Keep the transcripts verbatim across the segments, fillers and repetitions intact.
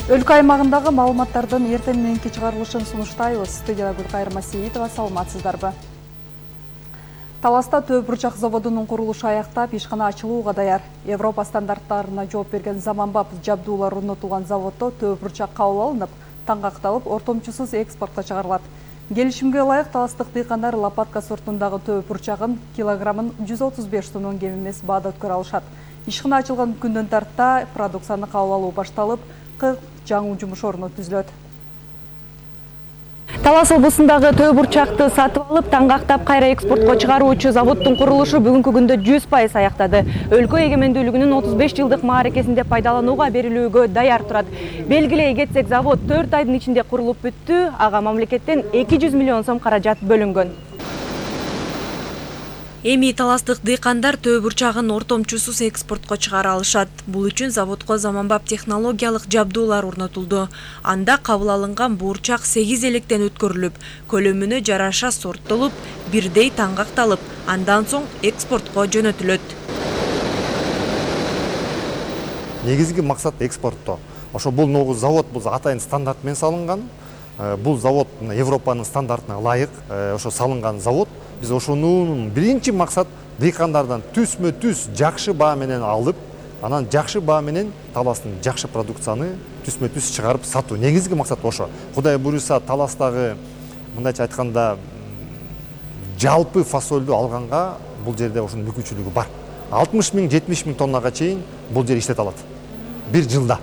Өлкө аймагындагы маалыматтардын эртең мененки чыгарылышын сунуштайбыз. Студияда Гүлкайыр Масеитова, саламатсыздарбы? Таласта Төө бурчак заводунун курулушу аяктап, ишкана ачылууга даяр. Европа стандарттарына жооп берген заманбап жабдуулар орнотулган заводдо Төө бурчак кабыл алынып, таңгакталып, ортомчусуз экспортко чыгарылат. Келишимге ылайык таластык дыйкандар лопатка сортундагы Төө бурчагын килограммын жүз отуз беш сомдон кем эмес баада өткөрө алышат. Ишкана ачылган күндөн тарта продукцияны кабыл алуу башталып, кырк жаңы жумуш орну түзүлөт. Талас облусундагы Төө бурчакты сатып алып, таңгактап кайра экспортко чыгаруучу заводдун курулушу бүгүнкү күндө жүз пайыз аяктады. Өлкө эгемендүүлүгүнүн отуз беш жылдык мааракесинде пайдаланууга берилүүгө даяр турат. Белгилей кетсек, завод төрт айдын ичинде курулуп бүттү. Ага мамлекеттен эки жүз миллион сом каражат бөлүнгөн. Эми таластык дыйкандар Төө бурчагын ортомчусуз экспортко чыгара алышат. Бул үчүн заводко заманбап технологиялык жабдуулар орнотулду. Анда кабыл алынган бурчак сегиз электен өткөрүлүп, көлөмүнө жараша сорттолуп, бирдей таңгакталып, андан соң экспортко жөнөтүлөт. Негизги максат экспортто. Ошо бул ногу завод бул атайын стандарт менен салынган. Бул завод Европанын стандартына ылайык ошо салынган завод. Биз ошонун биринчи максат дыйкандардан түзмө түз жакшы баа менен алып, анан жакшы баа менен таластын жакшы продукцияны түзмө түз чыгарып сатуу. Негизги максат ошо. Кудай буюрса, таластагы мындайча айтканда жалпы фасолду алганга бул жерде ошонун мүмкүнчүлүгү бар. алтымыш миң жетимиш миң тоннага чейин бул жер иштете алат. Бир жылда.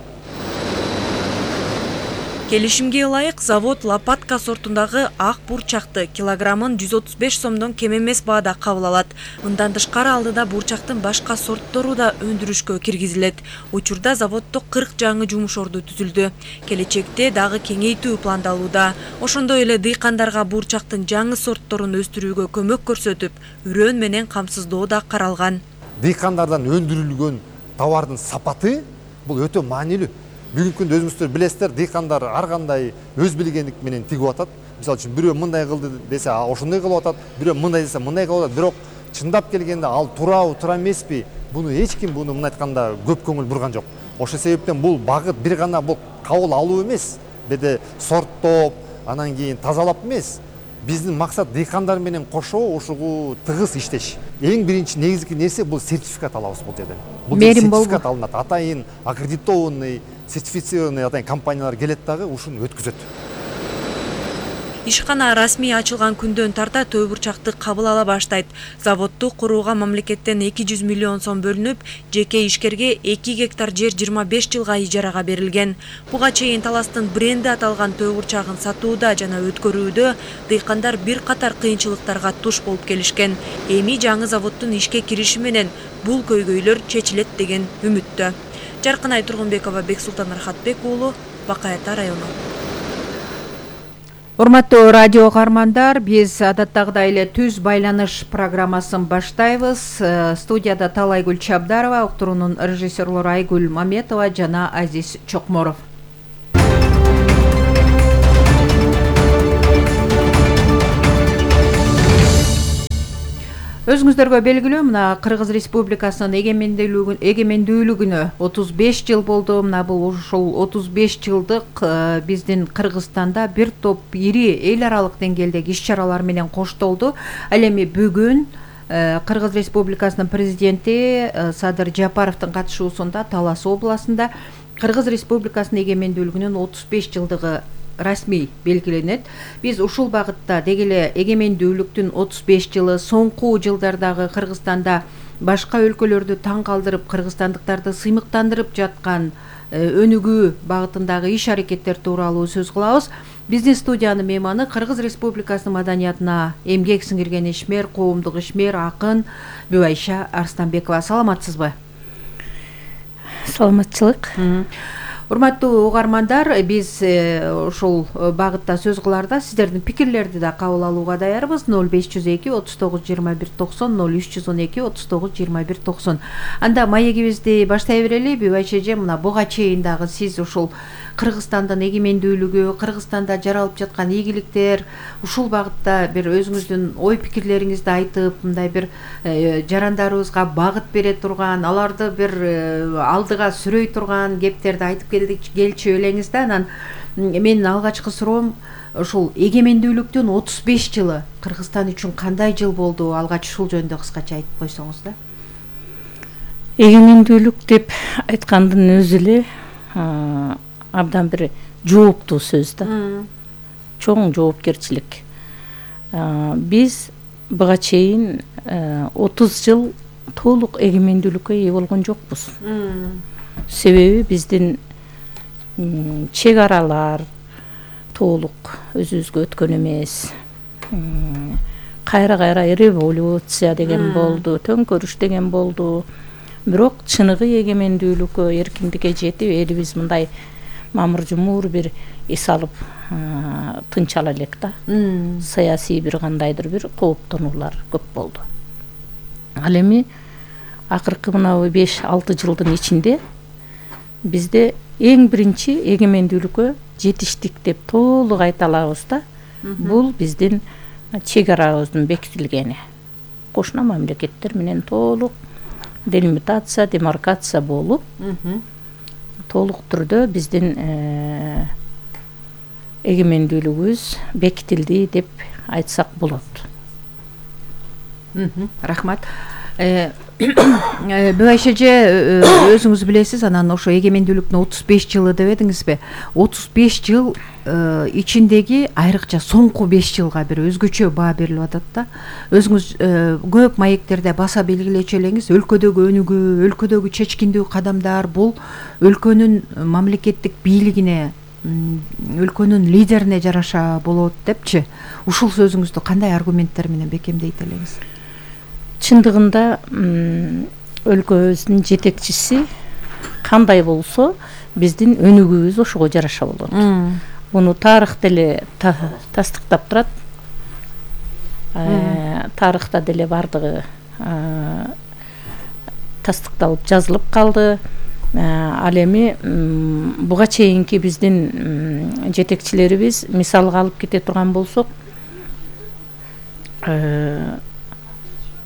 Келишимге ылайык завод лопатка сортундагы ак бурчакты килограммын жүз отуз беш сомдон кем эмес баада кабыл алат. Мындан тышкары алдыда бурчактын башка сорттору да өндүрүшкө киргизилет. Учурда заводдо кырк жаңы жумуш орду түзүлдү. Келечекте дагы кеңейтүү пландалууда. Ошондой эле дыйкандарга бурчактын жаңы сортторун өстүрүүгө көмөк көрсөтүп, үрөөн менен камсыздоо да каралган. Дыйкандардан өндүрүлгөн товардын сапаты бул өтө маанилүү. Бүгүнкү күндө өзүңүздөр билесиздер, дыйкандар ар кандай өз билгендик менен тигип атат. Мисалы үчүн бирөө мындай кылды десе, ошондой кылып атат, бирөө мындай десе, мындай кылып атат. Бирок чындап келгенде ал туурабы, туура эмеспи? Буну эч ким буну мындай айтканда көп көңүл бурган жок. Ошол себептен бул багыт бир гана бул кабыл алуу эмес, беде сорттоп, анан кийин тазалап эмес. Биздин максат дыйкандар менен кошо ушугу тыгыз иштеш. Эң биринчи негизги нерсе бул сертификат алабыз бул жерден. Бул сертификат алынат. Атайын аккредитованный, сертифицированный атайын компаниялар келет дагы ушуну өткүзөт. Ишкана расмий ачылган күндөн тарта Төө бурчакты кабыл ала баштайт. Заводду курууга мамлекеттен эки жүз миллион сом бөлүнүп, жеке ишкерге эки гектар жер жыйырма беш жылга ижарага берилген. Буга чейин таластын бренди аталган Төө бурчагын сатууда жана өткөрүүдө дыйкандар бир катар кыйынчылыктарга туш болуп келишкен. Эми жаңы заводдун ишке кириши менен бул көйгөйлөр чечилет деген үмүттө. Жаркынай Тургунбекова, Бексултан Архатбек уулу, Бакай Ата району. Урматтуу радио каармандар, биз адаттагыдай эле түз байланыш программасын баштайбыз. Студияда Талайгүл Чабдарова, уктуруунун режиссерлору Айгүл Маметова жана Азиз Чокморов. Өзүңүздөргө белгилүү, мына Кыргыз Республикасынын эгемендүүлүгүн эгемендүүлүгүнө отуз беш жыл болду. Мына бул ошол отуз беш жылдык биздин Кыргызстанда бир топ ири эл аралык деңгээлдеги иш-чаралар менен коштолду. Ал эми бүгүн Кыргыз Республикасынын президенти Садыр Жапаровдун катышуусунда Талас областында Кыргыз Республикасынын эгемендүүлүгүнүн отуз беш жылдыгы расмий белгиленет. Биз ушул багытта деги эле эгемендүүлүктүн отуз беш жылы, соңку жылдардагы Кыргызстанда башка өлкөлөрдү таң калтырып, кыргызстандыктарды сыймыктандырып жаткан өнүгүү багытындагы иш-аракеттер тууралуу сөз кылабыз. Биздин студиянын мейманы Кыргыз Республикасынын маданиятына эмгек сиңирген ишмер, коомдук ишмер, акын Бүбайша Арстанбекова. Саламатсызбы? Саламатчылык. Урматтуу угармандар, биз ушул багытта сөз кыларда сиздердин пикирлерди да кабыл алууга даярбыз. ноль беш жүз эки отуз тогуз жыйырма бир токсон, ноль үч жүз он эки отуз тогуз жыйырма бир токсон. Анда маегибизди баштай берели. Бүбайча эже, мына буга чейин дагы сиз ушул Кыргызстандын эгемендүүлүгү, Кыргызстанда жаралып жаткан ийгиликтер, ушул багытта бир өзүңүздүн ой пикирлериңизди айтып, мындай бир жарандарыбызга багыт бере турган, аларды бир алдыга сүрөй турган кептерди айтып келдик келчү элеңиз да. Анан менин алгачкы суроом ушул эгемендүүлүктүн отуз беш жылы Кыргызстан үчүн кандай жыл болду? Алгач ушул жөнүндө кыскача айтып койсоңуз да. Эгемендүүлүк деп айткандын өзү эле абдан бир жооптуу сөз да. Чоң жоопкерчилик. Биз буга чейин отуз жыл толук эгемендүүлүккө ээ болгон жокпуз. Себеби биздин чек аралар толук өзүбүзгө өткөн эмес. Кайра кайра революция деген болду, төңкөрүш деген болду. Бирок чыныгы эгемендүүлүккө, эркиндикке жетип, элибиз мындай мамыр жумур бир эс алып тынч ала элек да. Саясий бир кандайдыр бир кооптонуулар көп болду. Ал эми акыркы мына беш алты жылдын ичинде бизде эң биринчи эгемендүүлүккө жетиштик деп толук айта алабыз да. Бул биздин чек арабыздын бекитилгени. Кошуна мамлекеттер менен толук делимитация, демаркация болуп, толук түрдө биздин эгемендүүлүгүбүз бекитилди деп айтсак болот. Рахмат. Бибайша эже, өзүңүз билесиз, анан ошо эгемендүүлүктүн отуз беш жылы деп эдиңизби? отуз беш жыл ичиндеги айрыкча соңку беш жылга бир өзгөчө баа берилип атат да. Өзүңүз көп маектерде баса белгилечү элеңиз, өлкөдөгү өнүгүү, өлкөдөгү чечкиндүү кадамдар бул өлкөнүн мамлекеттик бийлигине, өлкөнүн лидерине жараша болот депчи. Ушул сөзүңүздү кандай аргументтер менен бекемдейт элеңиз? Чындыгында өлкөбүздүн жетекчиси кандай болсо, биздин өнүгүүбүз ошого жараша болот. Муну тарых деле тастыктап турат. Тарыхта деле бардыгы тастыкталып жазылып калды. Ал эми буга чейинки биздин жетекчилерибиз мисалга алып кете турган болсок,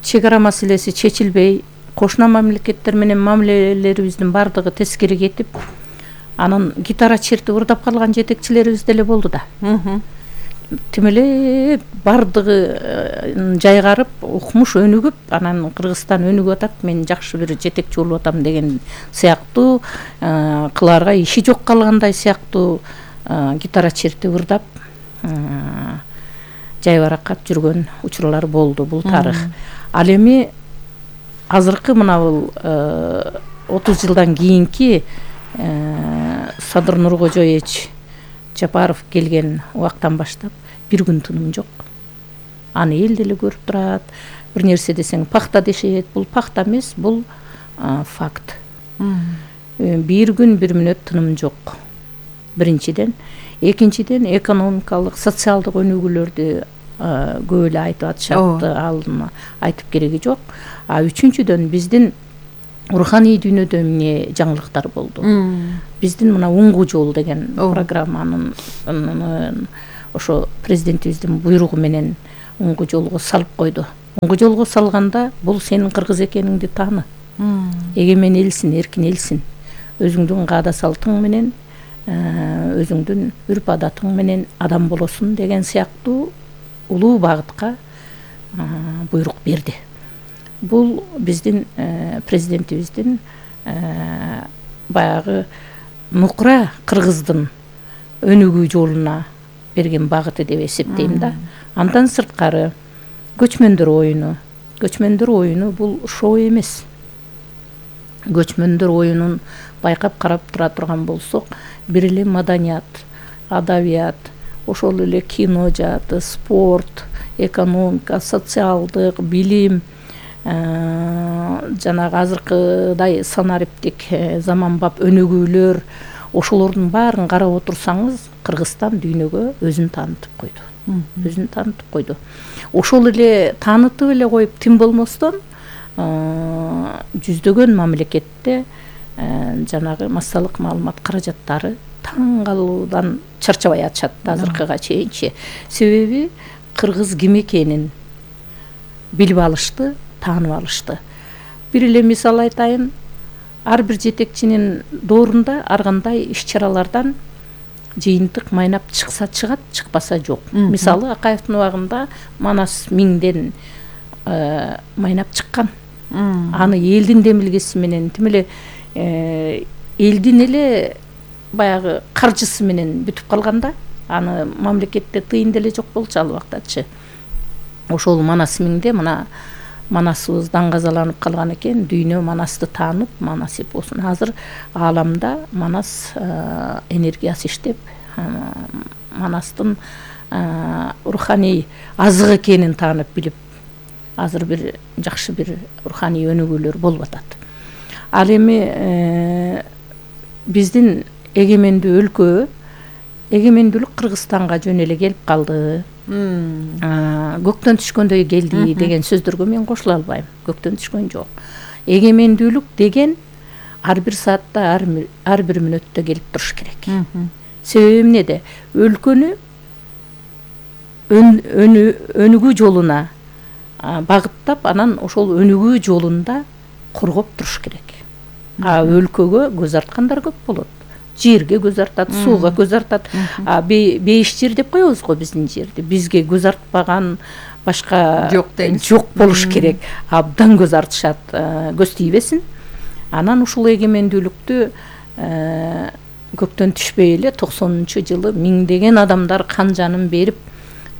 чек ара маселеси чечилбей, кошуна мамлекеттер менен мамилелерибиздин бардыгы тескери кетип, анан гитара чертип ырдап калган жетекчилерибиз деле болду да. Тим эле бардыгы жайгарып, укмуш өнүгүп, анан Кыргызстан өнүгүп атат, мен жакшы бир жетекчи болуп атам деген сыяктуу, кылаарга иши жок калгандай сыяктуу гитара чертип ырдап жайбаракат жүргөн учурлар болду. Бул тарых. Ал эми азыркы мына бул отуз жылдан кийинки Садыр Нуркожоевич Жапаров келген убактан баштап бир күн тыным жок. Аны эл деле көрүп турат. Бир нерсе десең пахта дешет. Бул пахта эмес, бул факт. Бир күн бир мүнөт тыным жок. Биринчиден, экинчиден экономикалык, социалдык өнүгүүлөрдү көп эле айтып атышат, алдын айтып кереги жок. А үчүнчүдөн биздин руханий дүйнөдө эмне жаңылыктар болду. Биздин мына уңгу жол деген программанын ошо президентибиздин буйругу менен уңгу жолго салып койду. Уңгу жолго салганда бул сенин кыргыз экениңди тааны. Эгемен элсин, эркин элсин. Өзүңдүн каада салтың менен, өзүңдүн үрп адатың менен адам болосуң деген сыяктуу улуу багытка буйрук берди. Бул биздин президентибиздин баягы нукура кыргыздын өнүгүү жолуна берген багыты деп эсептейм да. Андан сырткары көчмөндөр оюну. Көчмөндөр оюну бул шоу эмес. Көчмөндөр оюнун байкап карап тура турган болсок, бир эле маданият, адабият, ошол эле кино жааты, спорт, экономика, социалдык, билим, жанагы азыркыдай санариптик заманбап өнүгүүлөр, ошолордун баарын карап отурсаңыз, Кыргызстан дүйнөгө өзүн таанытып койду. Өзүн таанытып койду. Ошол эле таанытып эле коюп, тим болмостон жүздөгөн мамлекетте жанагы массалык маалымат каражаттары таң калуудан чарчабай атышат азыркыга чейинчи. Себеби кыргыз ким экенин билип алышты, таанып алышты. Бир эле мисал айтайын, ар бир жетекчинин доорунда ар кандай иш чаралардан жыйынтык майнап чыкса чыгат, чыкпаса жок. Мисалы Акаевдин убагында Манас миңден майнап чыккан. Аны элдин демилгеси менен, тим эле элдин эле баягы каржысы менен бүтүп калганда, аны мамлекетте тыйын деле жок болчу ал убактачы. Ошол Манас миңде мына Манасыбыз даңгазаланып калган экен, дүйнө Манасты таанып, Манас эпосун азыр ааламда Манас энергиясы иштеп, Манастын руханий азык экенин таанып билип, азыр бир жакшы бир руханий өнүгүүлөр болуп атат. Ал эми биздин эгемендүү өлкө, эгемендүүлүк Кыргызстанга жөн эле келип калды. Көктөн түшкөндөй келди деген сөздөргө мен кошула албайм. Көктөн түшкөн жок. Эгемендүүлүк деген ар бир саатта, ар бир мүнөттө келип туруш керек. Себеби эмнеде? Өлкөнү өнүгүү жолуна багыттап, анан ошол өнүгүү жолунда коргоп туруш керек. А өлкөгө көз арткандар көп болот. Жерге көз артат, сууга көз артат. Бейиш жер деп коебуз го биздин жерди. Бизге көз артпаган башка жок болуш керек. Абдан көз артышат, көз тийбесин. Анан ушул эгемендүүлүктү көктөн түшпөй эле токсонунчу жылы миңдеген адамдар кан жанын берип,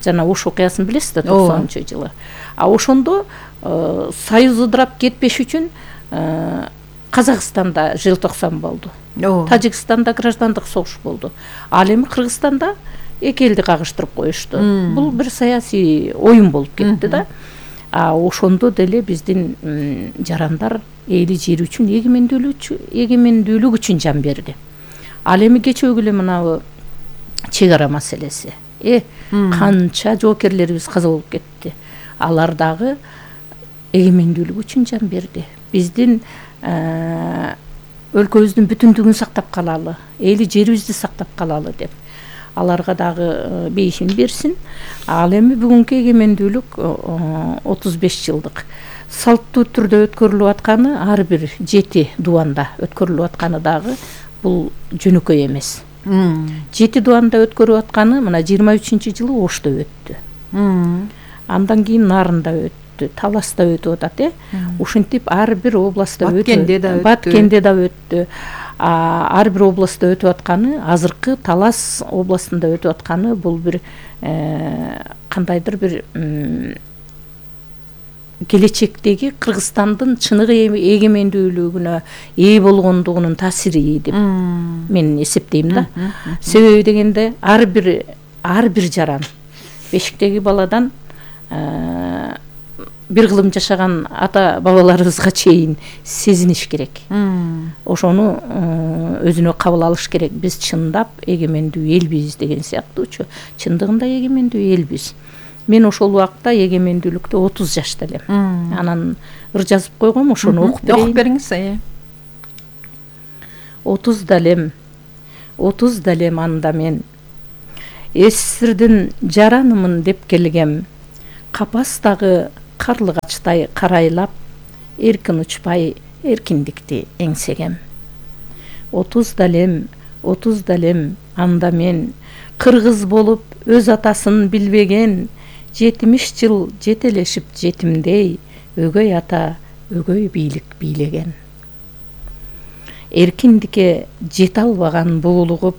жана Ош окуясын билесиз да, токсонунчу жылы. А ошондо союз ыдырап кетпеш үчүн Казакстанда желтоқсан болду. Тажикстанда граждандык согуш болду. Ал эми Кыргызстанда эки элди кагыштырып коюшту. Бул бир саясий оюн болуп кетти да. А ошондо деле биздин жарандар эли жери үчүн, эгемендүүлүк үчүн жан берди. Ал эми кечөөгү эле мынабу чек ара маселеси. Э, канча жоокерлерибиз каза болуп кетти. Алар дагы эгемендүүлүк үчүн жан берди. Биздин өлкөбүздүн бүтүндүгүн сактап калалы, эли жерибизди сактап калалы деп аларга дагы бейишин берсин. Ал эми бүгүнкү эгемендүүлүк отуз беш жылдык салттуу түрдө өткөрүлүп атканы, ар бир жети дубанда өткөрүлүп атканы дагы бул жөнөкөй эмес. Жети дубанда өткөрүп атканы мына жыйырма үчүнчү жылы Ошто өттү. Андан кийин Нарында өттү, Таласта өтүп атат, э. Ушинтип ар бир областта өтүп, Баткенде да өттү. Ар бир областта өтүп атканы, азыркы Талас областында өтүп атканы бул бир кандайдыр бир келечектеги Кыргызстандын чыныгы эгемендүүлүгүнө ээ болгондугунун таасири деп мен эсептейм да. Себеби дегенде ар бир ар бир жаран бешиктеги баладан бир кылым жашаган ата бабаларыбызга чейин сезиниш керек. Ошону өзүнө кабыл алыш керек. Биз чындап эгемендүү элбиз деген сыяктуучу. Чындыгында эгемендүү элбиз. Мен ошол убакта эгемендүүлүктө отуз жашта элем. Анан ыр жазып койгом, ошону окуп берейин. Окуп бериңиз, э. отуз далем, отуз далем анда мен эсирдин жаранымын деп келгем. Капастагы карлыгачтай карайлап, эркин учпай эркиндикти эңсегем. отуз далем, отуз далем анда мен кыргыз болуп өз атасын билбеген, жетимиш жыл жетелешип жетимдей, өгөй ата өгөй бийлик бийлеген. Эркиндикке жете албаган буулугуп,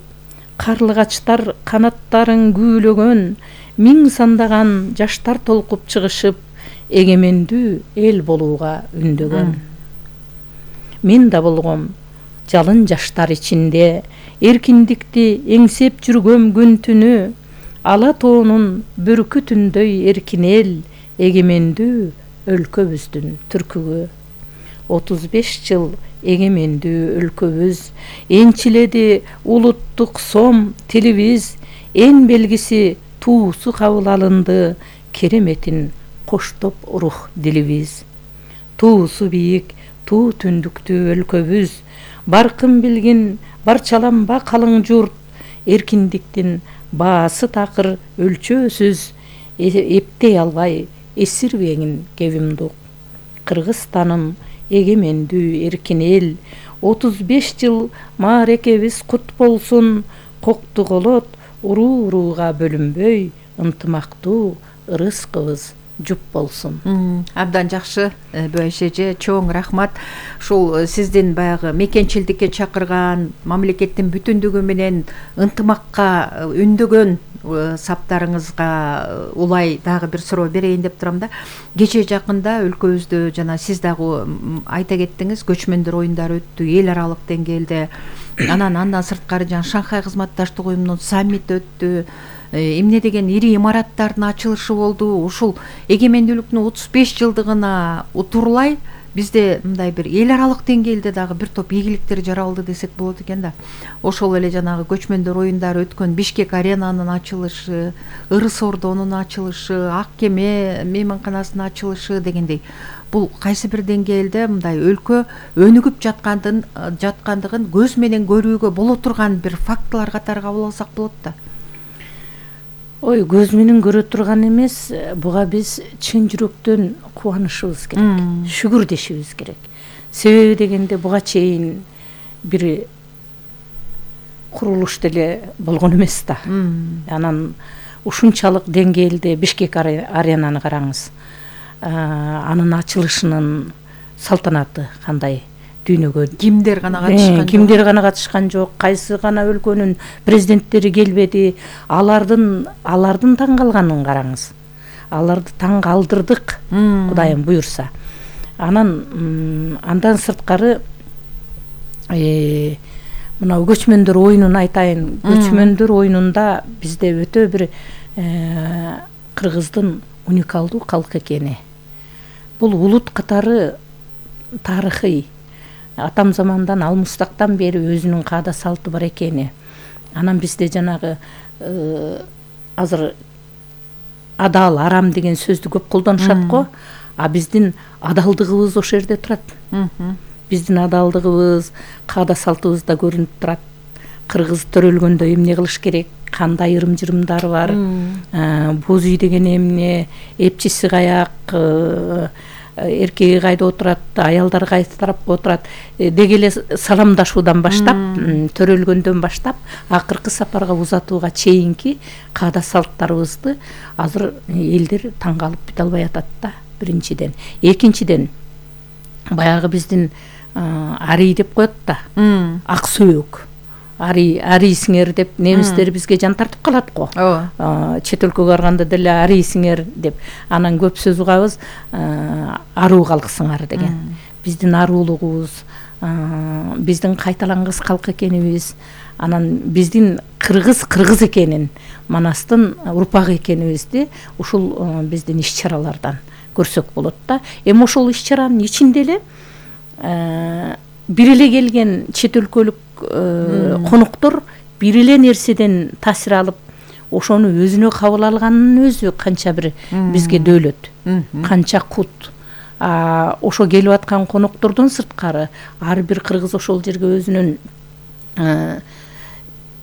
карлыгачтар канаттарын күүлөгөн, миң сандаган жаштар толкуп чыгышып, эгемендүү эл болууга үндөгөн. Мен да болгом жалын жаштар ичинде, эркиндикти эңсеп жүргөм күн түнү, ала тоонун бүркүтүндөй эркин эл, эгемендүү өлкөбүздүн түркүгү. отуз беш жыл эгемендүү өлкөбүз, энчиледи улуттук сом тилибиз, эн белгиси туусу кабыл алынды, кереметин коштоп рух дилибиз. Туусу бийик, туу түндүктүү өлкөбүз, баркын билгин барчаланба калың журт, эркиндиктин баасы такыр өлчөөсүз, эптей албай эсирбегин кебимдук. Кыргызстаным эгемендүү эркин эл, отуз беш жыл маарекебиз кут болсун, кокту колот уруу урууга бөлүнбөй, ынтымактуу ырыскыбыз жуп болсун. Абдан жакшы Бөйш эже, чоң рахмат. Ушул сиздин баягы мекенчилдикке чакырган, мамлекеттин бүтүндүгү менен ынтымакка үндөгөн саптарыңызга улай дагы бир суроо берейин деп турам да. Кече жакында өлкөбүздө жана сиз дагы айта кеттиңиз, көчмөндөр оюндары өттү эл аралык деңгээлде. Анан андан сырткары жана Шанхай кызматташтык уюмунун саммити өттү. Эмне деген ири имараттардын ачылышы болду. Ушул эгемендүүлүктүн отуз беш жылдыгына утурлай бизде мындай бир эл аралык деңгээлде дагы бир топ ийгиликтер жаралды десек болот экен да. Ошол эле жанагы көчмөндөр оюндары өткөн Бишкек аренанын ачылышы, Ырыс ордонун ачылышы, Ак кеме мейманканасынын ачылышы дегендей. Бул кайсы бир деңгээлде мындай өлкө өнүгүп жаткандын жаткандыгын көз менен көрүүгө боло турган бир фактылар катары кабыл алсак болот да. Ой, көз менен көрө турган эмес, буга биз чын жүрөктөн кубанышыбыз керек, шүгүр дешибиз керек. Себеби дегенде буга чейин бир курулуш деле болгон эмес да. Анан ушунчалык деңгээлде Бишкек аренаны караңыз. Анын ачылышынын салтанаты кандай дүйнөгө кимдер гана катышкан жок? Кимдер гана катышкан жок, кайсы гана өлкөнүн президенттери келбеди. Алардын алардын таң калганын караңыз. Аларды таң калдырдык, Кудайым буйрса. Анан андан сырткары мына көчмөндөр оюнун айтайын. Көчмөндөр оюнунда бизде өтө бир кыргыздын уникалдуу калк экени. Бул улут катары тарыхый, атам замандан алмустактан бери өзүнүн каада салты бар экени. Анан бизде жанагы азыр адал, арам деген сөздү көп колдонушат го, а биздин адалдыгыбыз ошол жерде турат. Биздин адалдыгыбыз, каада салтыбызда көрүнүп турат. Кыргыз төрөлгөндө эмне кылыш керек, кандай ырым-жырымдары бар, боз үй деген эмне, эпчиси каяк, эркеги кайда отурат, аялдар кайсы тарапка отурат деги эле саламдашуудан баштап, төрөлгөндөн баштап, акыркы сапарга узатууга чейинки каада салттарыбызды азыр элдер таң калып бүтө албай атат да, биринчиден. Экинчиден, баягы биздин арий деп коет да, ак сөөк. Ари, арийсиңер деп немистер бизге жан тартып калат го. Чет өлкөгө барганда деле арийсиңер деп. Анан көп сөз угабыз, аруу калксыңар деген. Биздин аруулугубуз, биздин кайталангыс калк экенибиз, анан биздин кыргыз кыргыз экенин, манастын урпагы экенибизди ушул биздин иш-чаралардан көрсөк болот да. Эми ошол иш-чаранын ичинде эле бир эле келген чет өлкөлүк коноктор бир эле нерседен таасир алып, ошону өзүнө кабыл алганынын өзү канча бир бизге дөөлөт, канча кут. Ошо келип аткан коноктордон сырткары ар бир кыргыз ошол жерге өзүнүн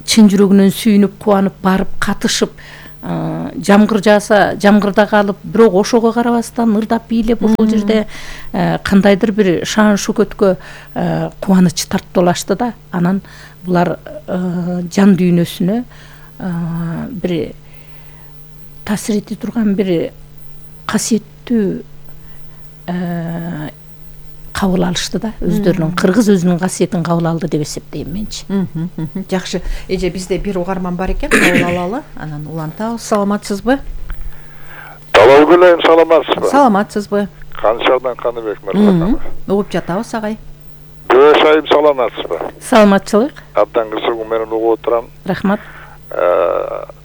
чын жүрөгүнөн сүйүнүп, кубанып барып катышып, жамгыр жааса жамгырда калып, бирок ошого карабастан ырдап бийлеп ошол жерде кандайдыр бир шаан шөкөткө кубаныч тартып алышты да. Анан булар жан дүйнөсүнө бир таасир эте турган бир касиеттүү кабыл алышты да, өздөрүнүн кыргыз өзүнүн касиетин кабыл алды деп эсептейм менчи. Жакшы. Эже, бизде бир угарман бар экен, кабыл алалы. Анан улантабыз. Саламатсызбы? Талабгүлөйм, саламатсызбы? Саламатсызбы? Каншардан Каныбек мырза. Угуп жатабыз, агай. Бөш айым, саламатсызбы? Саламатчылык. Абдан кызыгуу менен угуп отурам. Рахмат.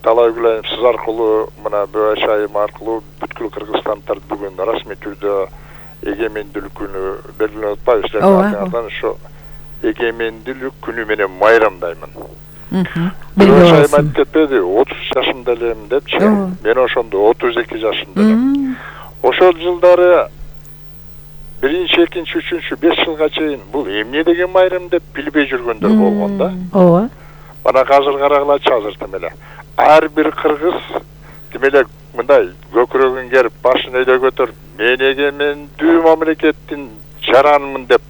Талабгүлөйм, сиз аркылуу, мына Бөш айым аркылуу бүткүл кыргызстанддар бүгүн расмий түрдө эгемендүүлүк күнү белгиленип атпайбы силердин ошо эгемендүүлүк күнү менен майрамдаймын. Бөш айым айтып кетпеди, отуз жашымда элем депчи. Мен ошондо отуз эки жашымда элем. Ошол жылдары биринчи, экинчи, үчүнчү, беш жылга чейин бул эмне деген майрам деп билбей жүргөндөр болгон да. Ооба. Мана азыр карагылачы, азыр демеле ар бир кыргыз демеле мындай көкүрөгүн керип, башын өйдө көтөрүп, мен эгемендүү мамлекеттин жаранымын деп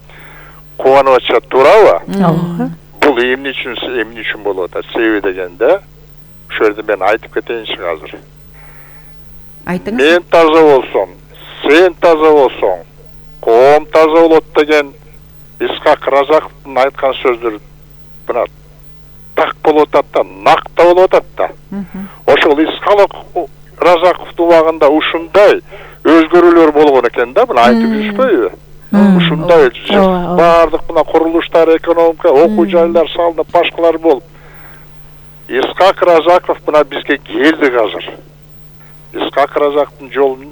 кубанып атышат, туурабы? ооба. Бул эмне үчүн эмне үчүн болуп атат? Себеби дегенде ошол жерде мен айтып кетейинчи азыр. Айтыңыз. Мен таза болсом, сен таза болсоң, коом таза болот деген Исхак Разаковдун айткан сөздөрү мына так болуп атат да, накта болуп атат да. Ошол Исхак Разаковдун убагында ушундай өзгөрүүлөр болгон экен да, мына айтып жүрүшпөйбү? Ушундай баардык мына курулуштар, экономика, окуу жайлар салынып, башкалар болуп. Исхак Разаков мына бизге келди азыр. Исхак Разаковдун жолун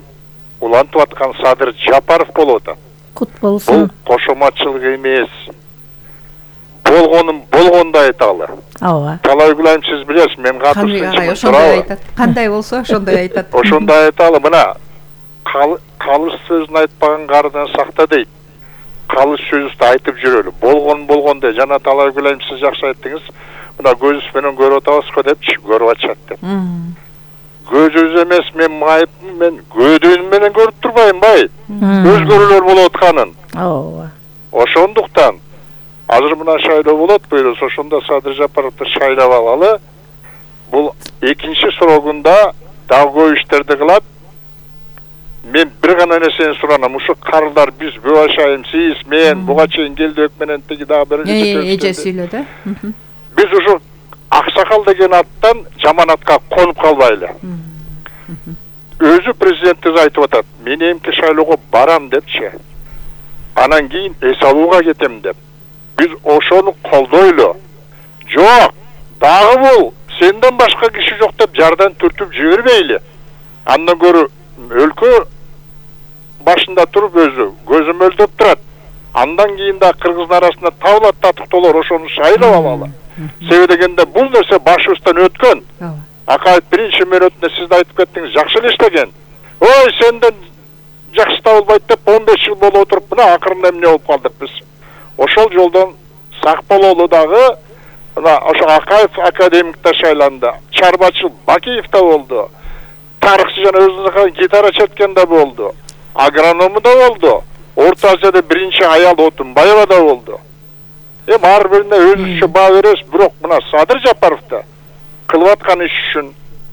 улантып аткан Садыр Жапаров болуп атат. Кут Бул болсун. кошоматчылык эмес. Болгонун болгондой айталы. Ооба. Талай Гүлайым, сиз билесиз, мен Каныбек агай ошондой айтат. Кандай болсо ошондой айтат. Ошондой айталы, мына калыс сөзүн айтпаган карыдан сакта дейт. Калыс сөздү айтып жүрөлү. Болгон болгондой. Жана Талай Гүлайым, сиз жакшы айттыңыз. Мына көзүбүз менен көрүп атабызбы депчи, көрүп атышат деп. Көзүбүз эмес, мен майыптын, мен көдөм менен көрүп турбайм бай. Өзгөрүүлөр болуп атканын. Ооба. Ошондуктан азыр мына шайлоо болот, буюрса ошондо Садыр Жапаровду шайлап алалы. Бул экинчи срогунда дагы көп иштерди кылат. Мен бир гана нерсени суранам. Ушу карылдар биз Бөбашайым, сиз, мен буга чейин келдик менен тиги дагы бир эже сүйлөдү. Биз ушу Аксакал деген аттан жаман атка конуп калбайлы. Өзү президентибиз айтып атат, мен эмки шайлоого барам депчи. Анан кийин эс алууга кетем деп. Биз ошону колдойлу. Жок, дагы бул сенден башка киши жок деп жардан түртүп жибербейли. Андан көрү өлкө башында туруп өзү көзү мөлдөп турат. Андан кийин да кыргыздын арасында табылат татыктоолор, ошону шайлап алалы. Себеби дегенде бул нерсе башыбыздан өткөн. Акаев биринчи мөөнөтүндө сиз айтып кеттиңиз, жакшы эле иштеген. Ой, сенден жакшы табылбайт деп он беш жыл болуп отуруп, мына акырында эмне болуп калдык биз. Ошол жолдон сак бололу дагы. Мына ошо Акаев академикте шайланды. Чарбачыл Бакиев да болду. Тарыхчы жана өзүнүн гитара четкен да болду. Агроному да болду. Орто Азияда биринчи аял Отунбаева да болду. Эми ар бирине өзүнчө баа беребиз, бирок мына Садыр Жапаровду кылып аткан иш үчүн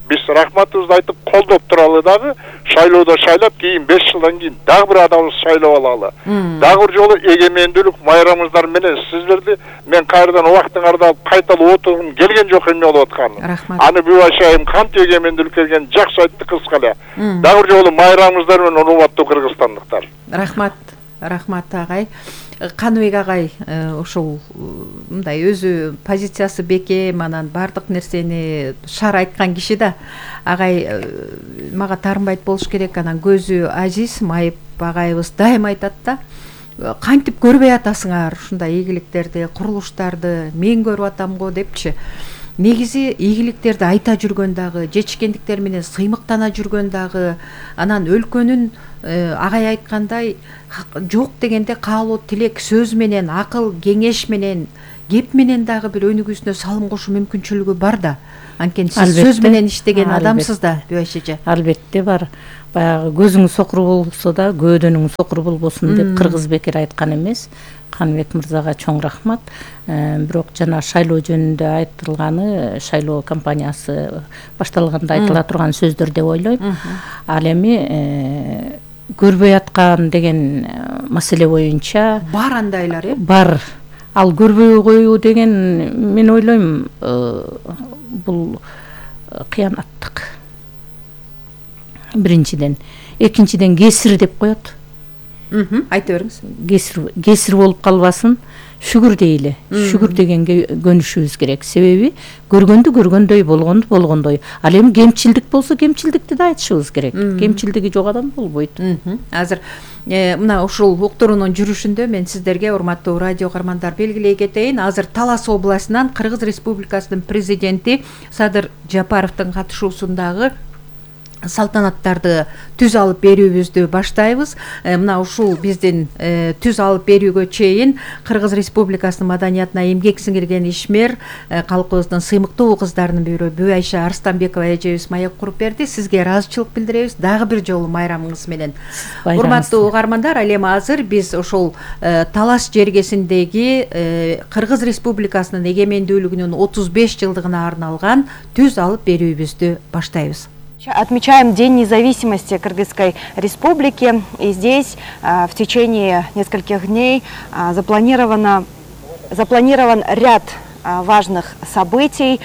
биз рахматыбызды айтып колдоп туралы дагы, шайлоодо шайлап, кийин беш жылдан кийин дагы бир адамды шайлап алалы. Дагы бир жолу эгемендүүлүк майрамыңыздар менен сиздерди мен кайрадан убактын кардалып кайталап отургум келген жок эмне болуп атканын. Аны Бөбашайым кантип эгемендүүлүк келген жакшы айтты кыска эле. Дагы бир жолу майрамыңыздар менен урматтуу кыргызстандыктар. Рахмат, рахмат агай. Каныбек агай ошол мындай өзү позициясы бекем, анан бардык нерсени шар айткан киши да. Агай мага таарынбайт болуш керек, анан көзү азиз майып агайыбыз дайым айтат да. Кантип көрбөй атасыңар ушундай ийгиликтерди, курулуштарды, мен көрүп атам го депчи. Негизи ийгиликтерди айта жүргөн дагы, жетишкендиктер менен сыймыктана жүргөн дагы, анан өлкөнүн агай айткандай жок дегенде каалоо, тилек сөз менен, акыл, кеңеш менен, кеп менен дагы бир өнүгүүсүнө салым кошуу мүмкүнчүлүгү бар да. Анткени сиз сөз менен иштеген адамсыз да, Бөбөш эже. Албетте бар. Баягы көзүң сокур болсо да, көөдөнүң сокур болбосун деп кыргыз бекер айткан эмес. Каныбек мырзага чоң рахмат. Бирок жана шайлоо жөнүндө айтылганы, шайлоо кампаниясы башталганда айтыла турган сөздөр деп ойлойм. Ал эми көрбөй аткан деген маселе боюнча бар андайлар, э? Бар. Ал көрбөй коюу деген мен ойлойм бул кыянаттык. Биринчиден, экинчиден кесир деп коет. Айта бериңиз. Кесир кесир болуп калбасын, шүгүр дейли. Шүгүр дегенге көнүшүбүз керек. Себеби көргөндү көргөндөй, болгонду болгондой. Ал эми кемчилдик болсо, кемчилдикти да айтышыбыз керек. Кемчилдиги жок адам болбойт. Азыр мына ушул уктуруунун жүрүшүндө мен сиздерге, урматтуу радио каармандар, белгилей кетейин. Азыр Талас областынан Кыргыз Республикасынын президенти Садыр Жапаровдун катышуусундагы салтанаттарды түз алып берүүбүздү баштайбыз. Мына ушул биздин түз алып берүүгө чейин Кыргыз Республикасынын маданиятына эмгек сиңирген ишмер, калкыбыздын сыймыктуу кыздарынын бири Бүайша Арстанбекова эжебиз маек куруп берди. Сизге ыраазычылык билдиребиз. Дагы бир жолу майрамыңыз менен. Урматтуу угармандар, ал эми азыр биз ошол Талас жергесиндеги Кыргыз Республикасынын эгемендүүлүгүнүн отуз беш жылдыгына арналган түз алып берүүбүздү баштайбыз. Отмечаем День независимости Кыргызской Республики, и здесь в течение нескольких дней запланировано, запланирован ряд важных событий,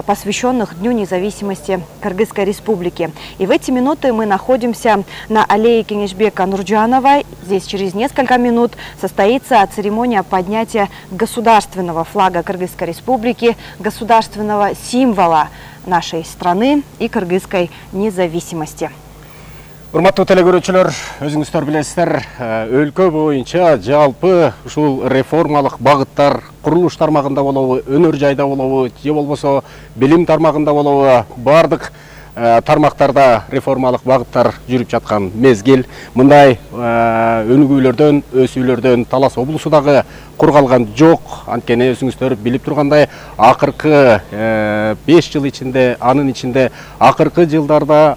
посвященных Дню независимости Кыргызской Республики. И в эти минуты мы находимся на аллее Кенешбека Нурджанова. Здесь через несколько минут состоится церемония поднятия государственного флага Кыргызской Республики, государственного символа нашей страны и кыргызской независимости. Урматтуу телекөрүүчүлөр, өзүңүздөр билесиздер, өлкө боюнча жалпы ушул реформалык багыттар курулуш тармагында болобу, өнөр жайда болобу, же болбосо билим тармагында болобу, бардык тармактарда реформалык багыттар жүрүп жаткан мезгил. Мындай өнүгүүлөрдөн, өсүүлөрдөн Талас облусу дагы кур калган жок. Анткени өзүңүздөр билип тургандай, акыркы беш жыл ичинде, анын ичинде акыркы жылдарда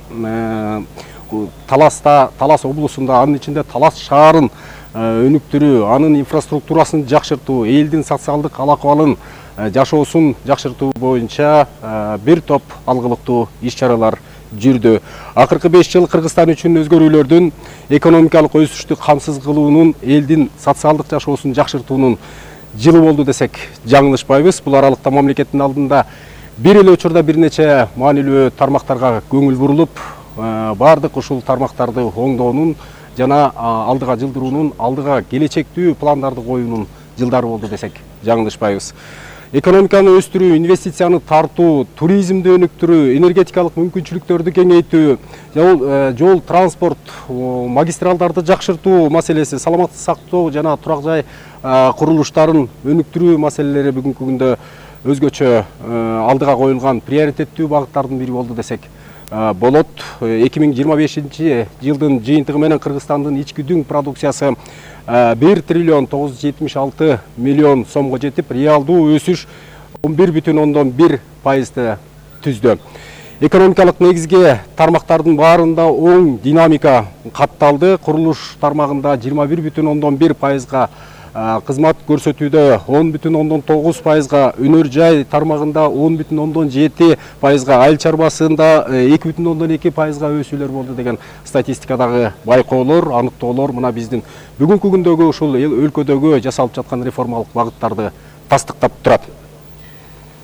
Таласта, Талас облусунда, анын ичинде Талас шаарын өнүктүрүү, анын инфраструктурасын жакшыртуу, элдин социалдык ал-акыбалын, жашоосун жакшыртуу боюнча бир топ алгылыктуу иш-чаралар жүрдү. Акыркы беш жыл Кыргызстан үчүн өзгөрүүлөрдүн, экономикалык өсүштү камсыз кылуунун, элдин социалдык жашоосун жакшыртуунун жылы болду десек жаңылышпайбыз. Бул аралыкта мамлекеттин алдында бир эле учурда бир нече маанилүү тармактарга көңүл бурулуп, бардык ушул тармактарды оңдоонун жана алдыга жылдыруунун, алдыга келечектүү пландарды коюунун жылдары болду десек жаңылышпайбыз. Экономиканы өстүрүү, инвестицияны тартуу, туризмди өнүктүрүү, энергетикалык мүмкүнчүлүктөрдү кеңейтүү, жол, транспорт, магистралдарды жакшыртуу маселеси, саламаттык сактоо жана турак жай курулуштарын өнүктүрүү маселелери бүгүнкү күндө өзгөчө алдыга коюлган приоритеттүү багыттардын бири болду десек болот. эки миң жыйырма бешинчи жылдын жыйынтыгы менен Кыргызстандын ички дүң продукциясы бир триллион тогуз жүз жетимиш алты миллион сомго жетип, реалдуу өсүш он бир бүтүн ондон бир пайызды түздү. Экономикалык негизги тармактардын баарында оң динамика катталды. Курулуш тармагында жыйырма бир бүтүн ондон бир пайызга, кызмат көрсөтүүдө он бүтүн ондон тогуз пайызга, өнөр жай тармагында он бүтүн ондон жети пайызга, айыл чарбасында эки бүтүн ондон эки пайызга өсүүлөр болду деген статистикадагы байкоолор, аныктоолор мына биздин бүгүнкү күндөгү ушул өлкөдөгү жасалып жаткан реформалык багыттарды тастыктап турат.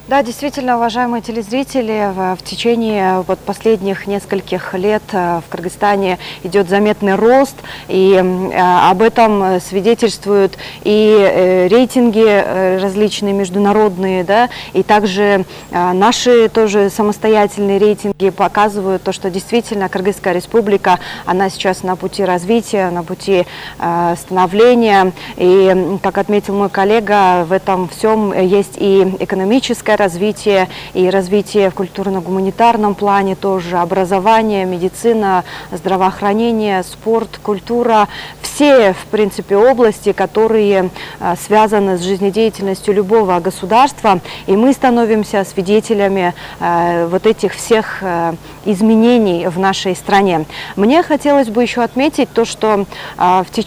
Да, действительно, уважаемые телезрители, в, в течение вот последних нескольких лет в Кыргызстане идет заметный рост, и а, об этом свидетельствуют и э, рейтинги э, различные международные, да, и также э, наши тоже самостоятельные рейтинги показывают то, что действительно Кыргызская республика, она сейчас на пути развития, на пути э, становления, и, как отметил мой коллега, в этом всем есть и экономическое развитие, и развитие в культурно-гуманитарном плане тоже, образование, медицина, здравоохранение, спорт, культура, все, в принципе, области, которые а, связаны с жизнедеятельностью любого государства, и мы становимся свидетелями а, вот этих всех а, изменений в нашей стране. Мне хотелось бы еще отметить то, что а, в течение